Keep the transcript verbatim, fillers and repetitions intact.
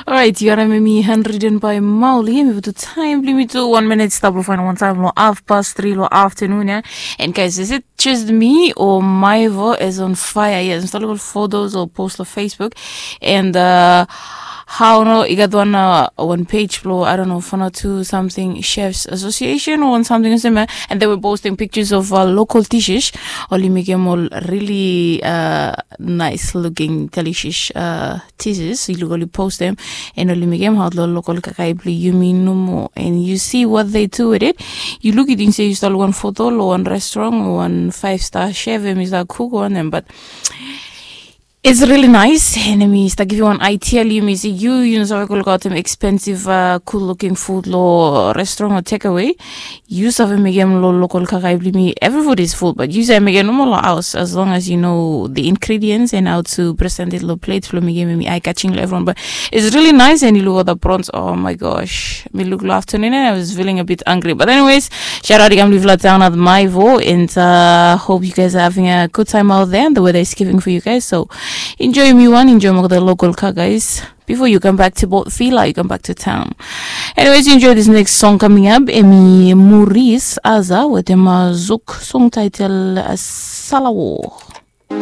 Orait, yu harim em i handwritten by Mauli. Em i putu taim bilong mi tu wan minit stap long fain wan taim long half past three long afternoon ya. And guys, is it just me or Maivo is on fire? Yes, mi start looking photos or post on Facebook. And uh, how no, i got one uh, one page blo, I don't know, Fana two something Chefs Association or one something same, and they were posting pictures of uh, local dishes. Oli mekim ol really uh, nice looking delicious uh, teasers. I look oli post them and oli mekim out lo local kakai bli yumi nomo. And you see what they do with it. You look it and say you start one photo lo one restaurant or one five star chef and is that cook one them, but it's really nice. And mi start give you one idea. You may say you you know so I go look out them expensive uh, cool looking food lo restaurant or takeaway. Yu save mekim lo local kakai bli mi. Every food is food, but yu save mekim nomo lo house as long as you know the ingredients and how to present it lo plate blo mekim mi eye catching lo everyone. But it's really nice and you look at the prawns. Oh my gosh, mi look lo afternoon and I was feeling a bit hungry. But anyways, shout out i kam live la down at Maivo and uh, hope you guys are having a good time out there and the weather is giving for you guys. So enjoy mi one, enjoy mo the local kakais. Before you come back to Port Vila, you come back to town. Anyways, you enjoy this next song coming up. Em i Maurice Aza with him uh, Zouk song title uh, Salawo.